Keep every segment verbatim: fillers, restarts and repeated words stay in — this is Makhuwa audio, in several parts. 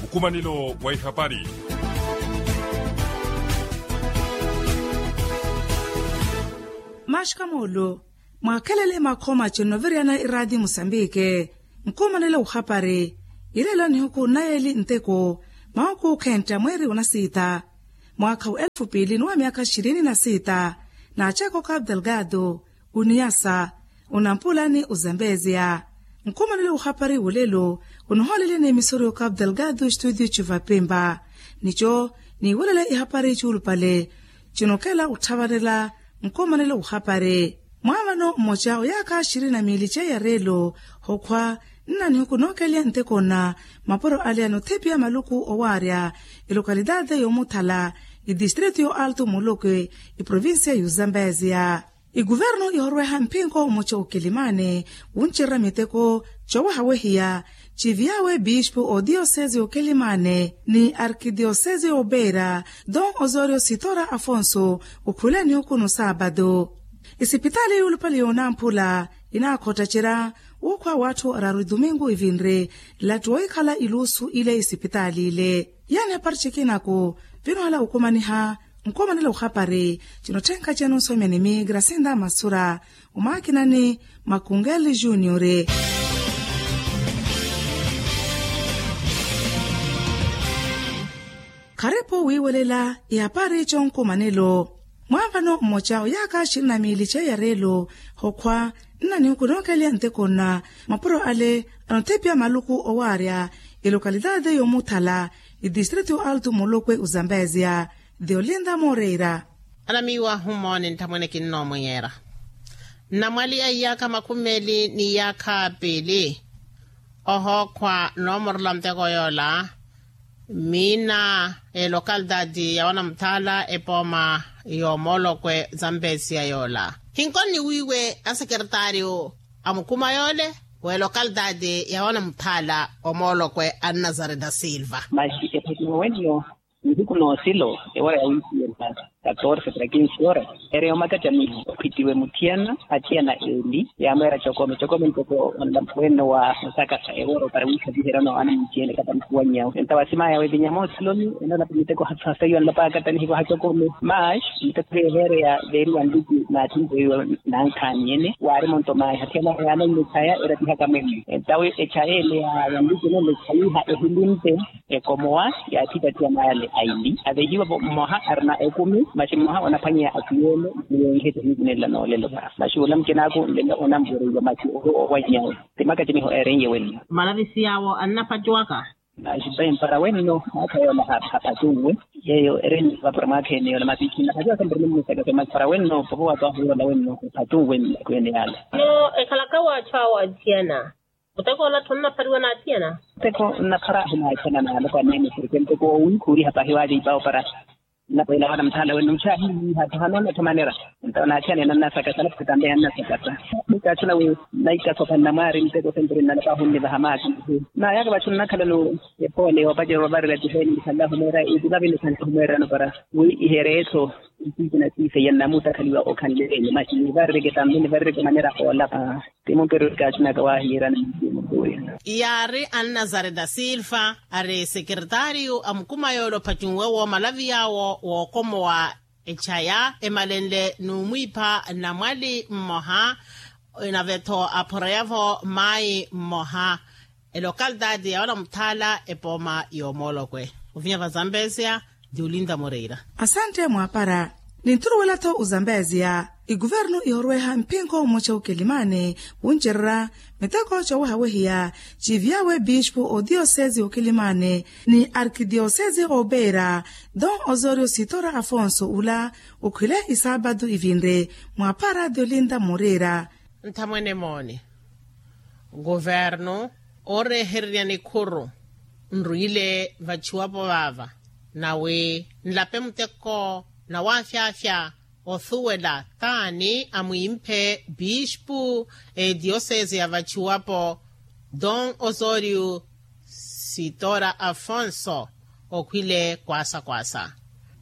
Nkumanelo wa ihapari. Maxka moolo, mwaakhelele makhooma cinno oviriyana iraati musambike. Nkumanelo wa uhapari, ileelo nihuku nnayeeli nteko, mawuku khentta mweeri onasiita, mwaakha wa elfu piili ni wa myaakha xirini na siita, na aceko kapu delgado, oniyasa, onampula ni ozambeziya. Nkumanelo wa uhapari wolelo, onohooleleni emisori okapu delgado estudio cuvapimpa. Nico, niiwelele ihapari cuulupale, cinokela otthavanela. Nkumanelo wa uhapari, mwaavano mmoca oyaakha xirini na miili ceiya reelo, okhwa nna nihuku nookeliya nteko nna mapuro ale anothepiya maluku owaarya, elokalitaate y'omuthala, etistritu y'oalto mulokwe, eprovincia y'ozambeziya. Ekuvernu ihorweha mpinko mmoca okelimane, wuncererya miteko, cowehawehiya, civiyawe bispu odiyosezi okelimane ni arkidiyosezi obeira, don osorio sitora afonso, okhule nihuku no saapatu. Esipitaali yuulupale yoonamphula, inaakhottacerya, wuukhwa w'atthu araru etumingu evinre, lattu wohikhala iluusu ile esipitaali ile. Yaani apari cikinaku, vinohala okumaniha, nkumanelo wa uhapari, cinotthenka cenu nsomyanimi grasinda masura, omaakinani, makungeli juniore. Kharipu wiiwelela ihapari conkumanelo. Mwaavano mmoca oyaakha xirinamiili ceiya reelo, okhwa nna nihuku nookeliya nteko nna mapuro ale anothepiya maluku owaarya, elokalitaate y'omuthala, etistritu y'oalto mulokwe ozambeziya, theolinda moreira. Anamiiwa ahumooni nthamwene kinnoomwiyera, nnamwali a iyaakha makhumi meeli ni iyaakha piili, ohookhwa noomorela nteko yoola, miina elokalitaati ya wanamuthaala epooma y'omoolokwe zambesiya yoola. Hinkoni wiiwe asekeretaariyo a mukuma yoole w'elokalitaati ya wanamuthaala omoolokwe a nnazareta silva. Maxi ephatiwa wenno, nihiku noosilo ewara ya wiipiye ntaata katorse para kinsi ora, ere yomakacamiho ophitiwe muthiyana athiyana eli yaamweera cokome cokome ntoko, wenno wa osakasa eworo para wiikhaviherya no ana muthiyene katampuwanyawe enta wasimaya wevinya moosiloni. Ena napi miteko hasasaiwa nlapakata nihivaha cokome, mas miteko yeheereya veeriwa nliki naatthimpuwiwa nankhaani ene waari monto mayi hathiyana yaana nlechaya eratihaka mwene entawe echaya ele ya nliki nlechaiha ehilimpe. Ekomowa yaathipattiya maale aili avehiwa mmoha arina ekumi, masi mmoha onaphwanyeya atiyeene. Niwenheto hiikunenla noolelo va masi olamukinaku nlelo onamvoreiwa masi owo owanyawe. Ti makacimiho eerenye wenno. Malavisi yaawo annapattiwaka. Masi pai mpara wenno mwaakha yoola hapattuwe. Yeeyo ereni vapura mwaakha ene yoola masi khinapattiwaka mparani mmusaka pai masi mpara wenno popo waatwahu yoola wenno hapattuwe. Mmakwene yaala. No ekhalaka waatthu awo atthiyana. Muteko ola tthonnaphariwa n'athiyana. Muteko nnaphara ahinaathiyana n'aloko aneene porke muteko woowiikhuuriha pahi waaliipa opara. Nnapeela wana muthaala wenno muxaahiiha tthahano nnathomanera. Entawo n'athiyana enannasakasa naphata mbeya nnasakasa. Mikaatthuna wi naikasopha nnamwaari muteko senteri nnalapa ahunnivaha maasi. Naayaka vatthu nnakhala no epoole yoopacerya ovarirya tiheeni nikhanle ahumweera itivavi nikhanle ahumweerano para wi ihereetho. Nsiikina siiseya nnamuttakhaliwa okhanle ene masi nivarireke tambi nivarireke manera oolapa. Ti mumperu kaatthunaka waahiyeerana. Yaari annazareta silva ari sekeretaariyu a mukuma yoole ophattunwe woomalavi yaawo wookomowa echaya emalenle n'umwiipha nnamwali mmoha. Nave-tho aphoreya-vo maayi mmoha elokalitaati ya wanamuthaala epooma y'omoolokwe ovinya vazambesia. Ti olinta moreira. Asante mwaapara. Ninthuruwela-tho ozambeziya. Ekuvernu ihorweha mpinko mmoca okelimane wuncererya miteko coowehawehiya ciiviyawe bispu odiyosezi okelimane ni arkidiyosezi opeira don osorio sitora afonso ula okhwile isaapatu ivinre mwaapara ti olinta moreira. Nthamwene mooni. Kuvernu oorehererya nikhuru nrwile vaciwapo vaava nawi nlape muteko na waafyaafya othuwela taani amwimphe bispu ediyosese ya vaciwapo don osorio sitora afonso okhwile kwaasa kwaasa.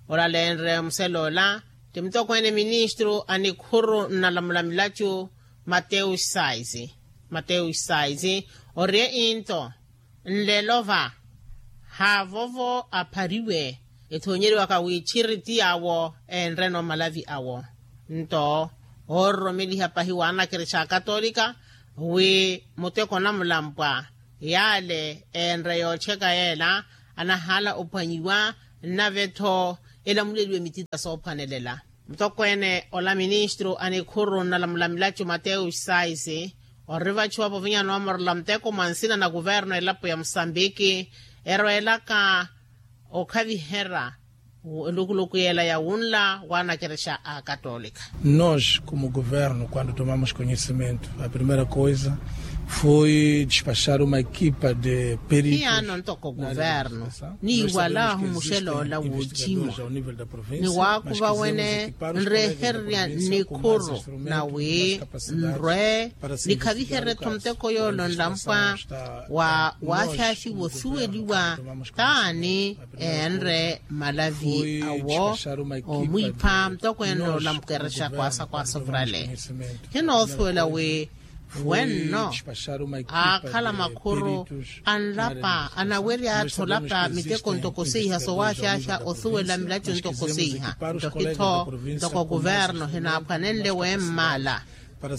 Olalenre musele ola ti mutokweene ministru a nikhuru nnalamula milacu mateus sais. Mateus sais ori einto nlelo va Haavovo aphariwe ethoonyeriwaka wiichiri ti yaawo enreno malavi awo. Nto oororomeliha pahi waanakerexa akatolika wi muteko na mulampwa yaale enre yootcheka yeela anahaala ophwanyiwa. Nnave-tho elamuleliwe mitita soophwanelela. Mutokweene ola ministru a nikhuru nnalamula milacu mateus sais ori vacuwa povinya noomorela muteko mwa nsina na kuvernu elapo ya musambiki erweelaka okhaviherya elukuluku yeela ya wunla waanakerexa a akatolika. Nos komu kuvernu kuandu tomamos konhisimentu a primeira koisa foi dispaxar uma ekipa de peritos. Hiyaano ntoko kuvernu niiwalaahu muxela ola wootthimu ni waakuva wene nreehererya nikhuru na wi nrwe nikhaviherye-tho muteko yoole onlampwa wa waaxaaxiwa osuweliwa taani eenre malavi awo oomwiipha mutokweene ola mukerexa kwaasa kwaasa ovurale. Hinoothuwela wi wenno aakhala makhuru anlapa anawerya-tho olapa miteko ntoko seiha sowaaxaaxa osuwela milaco ntoko seiha nto hi-tho ntoko kuvernu hinaaphwanenle wemmaala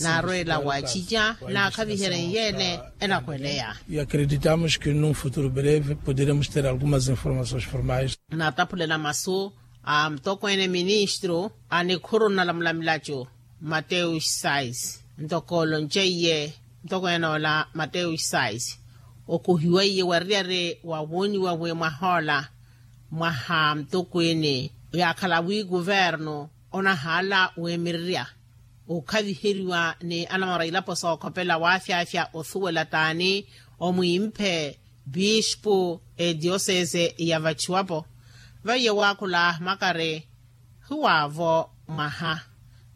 naarweela waacica naakhaviherye nyeele enahweleya. E acreditamos que num futuro breve poderemos ter algumas informações formais. Naataphulela masu a mutokweene ministru a nikhuru nnalamula milaco mateus sais ntoko olonceyiye mutokweene ola mateus sais okohiweiye wariyari wa wooniwa wi mwahoola mwaha mutokweene yaakhala wi kuvernu onahaala weemirerya okhaviheriwa ni anamora ilapo sookhopela waafyaafya osuwela taani omwiimphe biispu etiosese ya vachuwapo vaiye waakhula makari hiwaavo mwaha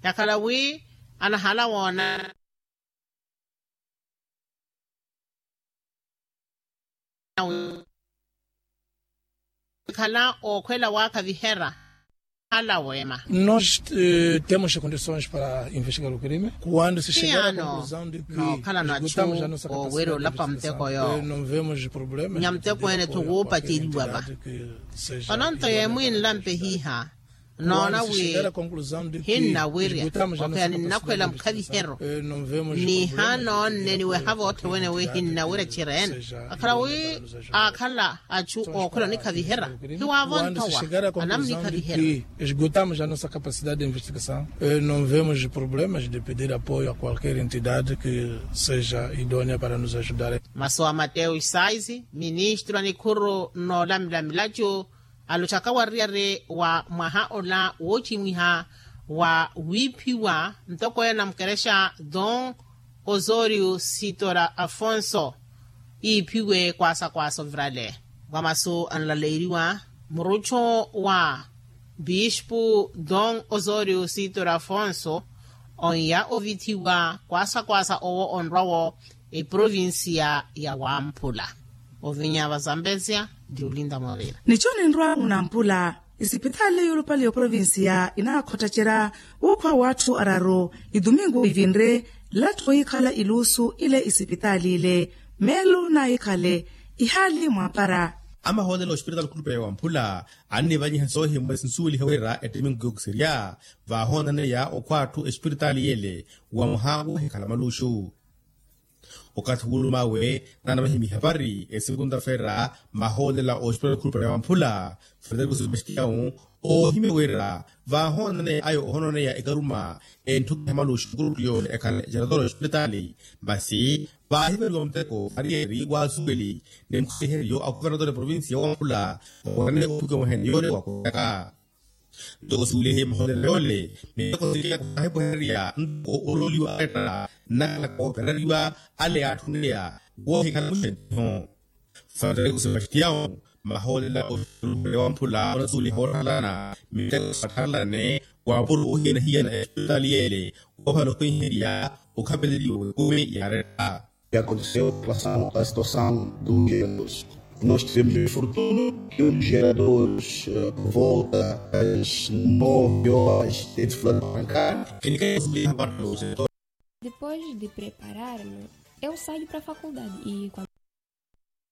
yakhala wi anahala woona khala okhwela waakhavihera ala weema. Nos temos condições para investigar o crime quando se chegar a conclusão de que nookhala nachu ooweri olapa muteko yoowo nyamuteko ene thuwuupaceriwa va. Vano nto yeemwiinlampe hiiha noona wi hinnawirya okhweya ninnakhwela mukhavihero niha noonne niweha voothe wene wi hinnawirya txirene akhala wi aakhala achu ookhwela onikhavihera hiwaavo nthowa anamunikhavihera. Esgotamos a nossa capacidade de investigação. Não vemos problemas de pedir apoio a qualquer entidade que seja idônea para nos ajudar. Masu a mateo isais ministro a nikhuru noolamela milacu alottaka wariyari wa mwaha ola woocimwiha wa wiiphiwa ntoko ena mukerexa don osorio sitora afonso iiphiwe kwaasa kwaasa ovirale wa masu anlaleeriwa muruttho wa bispu don osorio sitora afonso onya ovithiwa kwaasa kwaasa owo onrwa-wo eprovincia ya wamphula ovinya va zambezia ndi olinda mwaveira. Nicho ninrwa munampula isipitali yolupale yoprovincia inaakhottacerya wuukhwa w'atthu araru idumingu ivinre lattho yiikhala iluusu ile isipitali ile meelo naayikhale ihaali mwaapara. Amahoolelo ospitali khulupe wamphula annivanyiha soohimwa sinsuweliha wira ettimingu kiyokiseriya vaahoonaneya okhwa atthu espiritaali yele wa mwaha woohikhala maluuxu. Okathi wuuluma awe naanavahimiha vari esikunta-feera mahoolela oxipitali khulupale wamphula frederico sebastião oohimya wira vaahoonaneya ayo ohonooneya ekaruma entthukiha maluuxu nkuruttu yoole ekhale ejaratoro oxipitali masi vaahiveriwa muteko variyeri waasuweli ni mukhaliheryo a khuvernatori provincia wamphula oorane otthukiha mwahene yoole wakuryaka. Ntoko suwilihe mahoolelo yoole miteko siriya khwaahipuhererya ntoko olooliwa aretta nnakhala koopereriwa ale yaatthuneya woohikhala muxenniho. Frederico sebastião mahoolelo oxipitali wamphula onasuweliha woottharelana miteko saattharelane waapuro oohiyana-hiyana espitali yeele woophala okhweiherya okhapeleliwa w'ekumi yaaretta. Que aconteceu em relação à situação dos geradores. Nós tivemos o infortúnio que um dos geradores por volta das nove horas teve fila de arrancar. Depois de preparar-me, eu saio para a faculdade e quando